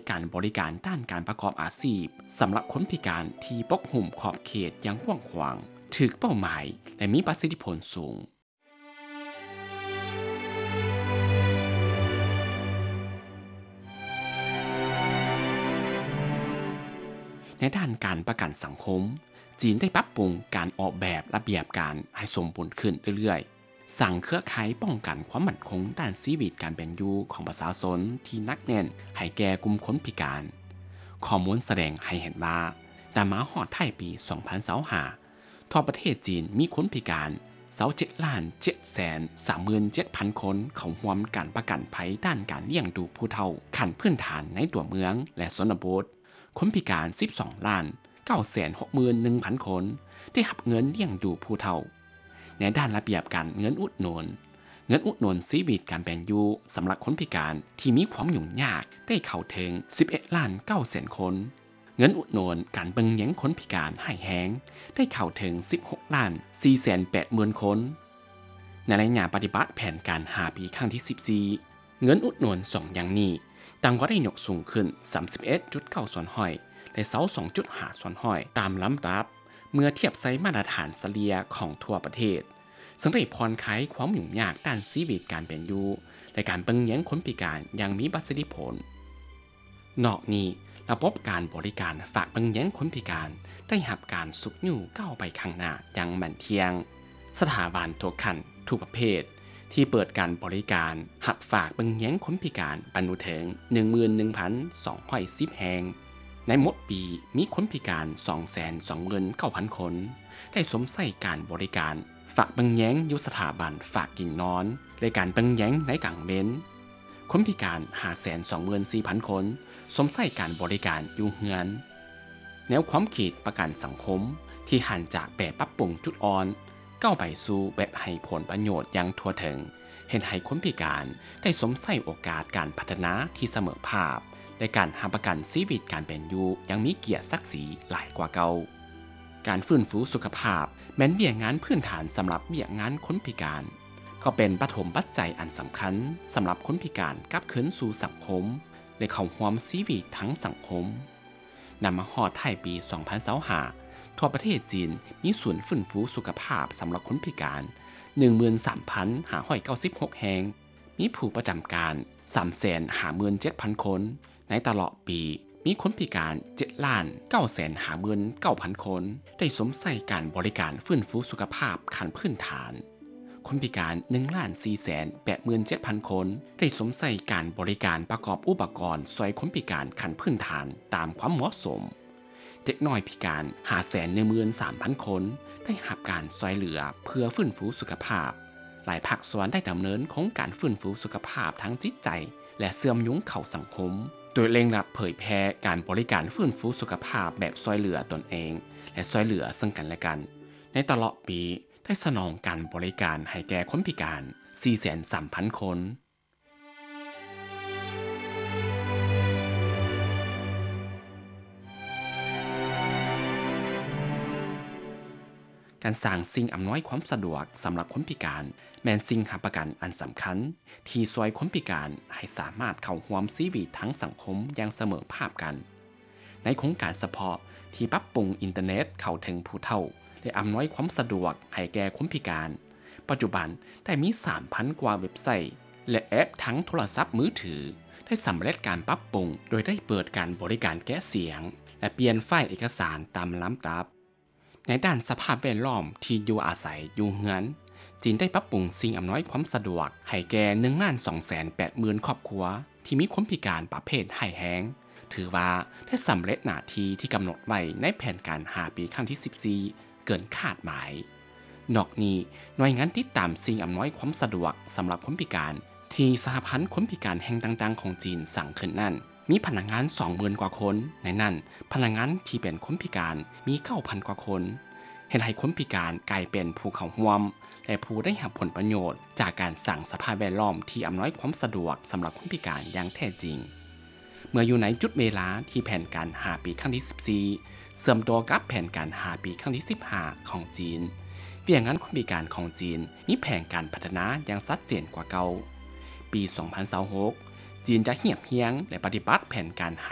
ການບໍລິການດ້ານການປະກອບອາຊີບສຳລັບຄົນພິການທີ່ປົກຫຸ້ມຂອບເຂດຢ່າງກວ້າງຂວາງ, ຖືກເປົ້າໝາຍ ແລະ ມີປະສິດທິຜົນສູງ. ໃນດ້ານການປະກັນສັງຄົມ, ຈີນໄດ້ປັບປຸງການອອກແບບລະບຽບການໃຫ້ສົມບູນຂຶ້ນເລື້ອຍໆ, ສ້າງເຄືອຂ່າຍປ້ອງກັນຄວາມໝັ້ນຄົງດ້ານຊີວິດການເປັນຢູ່ຂອງປະຊາຊົນທີ່ໜັກແໜ້ນໃຫ້ແກ່ກຸ່ມຄົນພິການ. ຂໍ້ມູນສະແດງໃຫ້ເຫັນວ່າ, ນຳມາຮອດທ້າຍປີສອງພັນຊາວຫ້າ, ທົ່ວປະເທດຈີນມີຄົນພິການຊາວເຈັດລ້ານເຈັດແສນສາມໝື່ນເຈັດພັນຄົນເຂົ້າຮ່ວມການປະກັນໄພດ້ານການລ້ຽງດູຜູ້ເຖົ້າຂັ້ນພື້ນຖານໃນຕົວເມືອງ ແລະ ຊົນນະບົດ, ຄົນພິການສິບສອງລ້ານເກົ້າແສນຫົກໝື່ນໜຶ່ງພັນຄົນໄດ້ຮັບເງິນລ້ຽງດູຜູ້ເຖົ້າ. ໃນດ້ານລະບຽບການເງິນອຸດໜູນ, ເງິນອຸດໜູນຊີວິດການເປັນຢູ່ສຳລັບຄົນພິການທີ່ມີຄວາມຫຍຸ້ງຍາກໄດ້ເຂົ້າເຖິງສິບເອັດລ້ານເກົ້າແສນຄົນ. ເງິນອຸດໜູນການເບິ່ງແຍງຄົນພິການຮ້າຍແຮງໄດ້ເຂົ້າເຖິງສິບຫົກລ້ານສີ່ແສນແປດໝື່ນຄົນ. ໃນໄລຍະປະຕິບັດແຜນການຫ້າປີຄັ້ງທີສິບສີ່, ເງິນອຸດໜູນສອງຢ່າງນີ້ຕ່າງກໍໄດ້ຍົກສູງຂຶ້ນສາມສິບເອັດຈຸດເກົ້າສ່ວນຮ້ອຍ ແລະ ຊາວສອງຈຸດຫ້າສ່ວນຮ້ອຍຕາມລຳດັບ ເມື່ອທຽບໃສ່ມາດຕະຖານສະເລ່ຍຂອງທົ່ວປະເທດ, ເຊິ່ງໄດ້ຜ່ອນຄາຍຄວາມຫຍຸ້ງຍາກດ້ານຊີວິດການເປັນຢູ່ ແລະ ການເບິ່ງແຍງຄົນພິການຢ່າງມີປະສິດທິຜົນ. ນອກນີ້, ລະບົບການບໍລິການຝາກເບິ່ງແຍງຄົນພິການໄດ້ຮັບການຊຸກຍູ້ກ້າວໄປຂ້າງໜ້າຢ່າງໝັ້ນທ່ຽງ. ສະຖາບັນທຸກຂັ້ນ, ທຸກປະເພດ ທີ່ເປີດການບໍລິການຮັບຝາກເບິ່ງແຍງຄົນພິການບັນລຸເຖິງໜຶ່ງໝື່ນໜຶ່ງພັນສອງຮ້ອຍສິບແຫ່ງ. ໃນໝົດປີ, ມີຄົນພິການສອງແສນສອງໝື່ນເກົ້າພັນຄົນ ໄດ້ຊົມໃຊ້ການບໍລິການ ຝາກເບິ່ງແຍງຢູ່ສະຖາບັນຝາກກິນນອນ ແລະ ການເບິ່ງແຍງໃນກາງເວັນ. ຄົນພິການຫ້າແສນສອງໝື່ນສີ່ພັນຄົນ ຊົມໃຊ້ການບໍລິການຢູ່ເຮືອນ. ແນວຄວາມຄິດປະກັນສັງຄົມທີ່ຫັນຈາກແບບປັບປຸງຈຸດອ່ອນ ກ້າວໄປສູ່ແບບໃຫ້ຜົນປະໂຫຍດຢ່າງທົ່ວເຖິງ, ເຮັດໃຫ້ຄົນພິການໄດ້ຊົມໃຊ້ໂອກາດການພັດທະນາທີ່ສະເໝີພາບ ແລະ ການຮັບປະກັນຊີວິດການເປັນຢູ່ຢ່າງມີກຽດສັກສີຫຼາຍກວ່າເກົ່າ. ການຟື້ນຟູສຸຂະພາບແມ່ນວຽກງານພື້ນຖານສຳລັບວຽກງານຄົນພິການ, ກໍເປັນປະຖົມປັດໄຈອັນສຳຄັນສຳລັບຄົນພິການກັບຄືນສູ່ສັງຄົມ ແລະ ເຂົ້າຮ່ວມຊີວິດທາງສັງຄົມ. ນຳມາຮອດທ້າຍປີສອງພັນຊາວຫ້າ, ທົ່ວປະເທດຈີນມີສູນຟື້ນຟູສຸຂະພາບສຳລັບຄົນພິການໜຶ່ງໝື່ນສາມພັນຫ້າຮ້ອຍເກົ້າສິບຫົກແຫ່ງ, ມີຜູ້ປະຈຳການສາມແສນຫ້າໝື່ນເຈັດພັນຄົນ. ໃນຕະຫຼອດປີ, ມີຄົນພິການເຈັດລ້ານເກົ້າແສນຫ້າໝື່ນເກົ້າພັນຄົນ ໄດ້ຊົມໃຊ້ການບໍລິການຟື້ນຟູສຸຂະພາບຂັ້ນພື້ນຖານ. ຄົນພິການໜຶ່ງລ້ານສີ່ແສນແປດໝື່ນເຈັດພັນຄົນ ໄດ້ຊົມໃຊ້ການບໍລິການປະກອບອຸປະກອນຊ່ວຍຄົນພິການຂັ້ນພື້ນຖານຕາມຄວາມເໝາະສົມ. ເດັກນ້ອຍພິການຫ້າແສນໜຶ່ງໝື່ນສາມພັນຄົນ ໄດ້ຮັບການຊ່ວຍເຫຼືອເພື່ອຟື້ນຟູສຸຂະພາບ. ຫຼາຍພາກສ່ວນໄດ້ດຳເນີນໂຄງການຟື້ນຟູສຸຂະພາບທາງຈິດໃຈ ແລະ ເຊື່ອມໂຍງເຂົ້າສັງຄົມ, ໂດຍເລັ່ງລັດເຜີຍແຜ່ການບໍລິການຟື້ນຟູສຸຂະພາບແບບຊ່ວຍເຫຼືອຕົນເອງ ແລະ ຊ່ວຍເຫຼືອເຊິ່ງກັນແລະກັນ. ໃນຕະຫຼອດປີ, ໄດ້ສະໜອງການບໍລິການໃຫ້ແກ່ຄົນພິການສີ່ແສນສາມພັນຄົນ. ການສ້າງສິ່ງອຳນວຍຄວາມສະດວກສຳລັບຄົນພິການ ແມ່ນສິ່ງຮັບປະກັນອັນສຳຄັນ ທີ່ຊ່ວຍຄົນພິການໃຫ້ສາມາດເຂົ້າຮ່ວມຊີວິດທາງສັງຄົມຢ່າງສະເໝີພາບກັນ. ໃນໂຄງການສະເພາະທີ່ປັບປຸງອິນເຕີເນັດເຂົ້າເຖິງຜູ້ເຖົ້າ ແລະ ອຳນວຍຄວາມສະດວກໃຫ້ແກ່ຄົນພິການ, ປັດຈຸບັນໄດ້ມີສາມພັນກວ່າເວັບໄຊ ແລະ ແອັບທາງໂທລະສັບມືຖື ໄດ້ສຳເລັດການປັບປຸງ ໂດຍໄດ້ເປີດການບໍລິການແກະສຽງ ແລະ ປ່ຽນໄຟລ໌ເອກະສານຕາມລຳດັບ. ໃນດ້ານສະພາບແວດລ້ອມທີ່ຢູ່ອາໄສຢູ່ເຮືອນ, ຈີນໄດ້ປັບປຸງສິ່ງອຳນວຍຄວາມສະດວກໃຫ້ແກ່ໜຶ່ງລ້ານສອງແສນແປດໝື່ນຄອບຄົວທີ່ມີຄົນພິການປະເພດຮ້າຍແຮງ, ຖືວ່າໄດ້ສຳເລັດໜ້າທີ່ທີ່ກຳນົດໄວ້ໃນແຜນການຫ້າປີຄັ້ງທີສິບສີ່ເກີນຄາດໝາຍ. ນອກນີ້, ໜ່ວຍງານຕິດຕາມສິ່ງອຳນວຍຄວາມສະດວກສຳລັບຄົນພິການ ທີ່ສະຫະພັນຄົນພິການແຫ່ງຕ່າງໆຂອງຈີນສ້າງຂຶ້ນນັ້ນ, ມີພະນັກງານສອງໝື່ນກວ່າຄົນ, ໃນນັ້ນພະນັກງານທີ່ເປັນຄົນພິການມີເກົ້າພັນກວ່າຄົນ, ເຮັດໃຫ້ຄົນພິການກາຍເປັນຜູ້ເຂົ້າຮ່ວມ ແລະ ຜູ້ໄດ້ຮັບຜົນປະໂຫຍດຈາກການສ້າງສະພາບແວດລ້ອມທີ່ອຳນວຍຄວາມສະດວກສຳລັບຄົນພິການຢ່າງແທ້ຈິງ. ເມື່ອຢູ່ໃນຈຸດເວລາທີ່ແຜນການຫ້າປີຄັ້ງທີສິບສີ່ ເຊື່ອມຕໍ່ກັບແຜນການຫ້າປີຄັ້ງທີສິບຫ້າຂອງຈີນ, ວຽກງານຄົນພິການຂອງຈີນມີແຜນການພັດທະນາຢ່າງຊັດເຈນກວ່າເກົ່າ. ປີສອງພັນຊາວຫົກ ຈີນຈະຮຽບຮຽງ ແລະ ປະຕິບັດແຜນການຫ້າ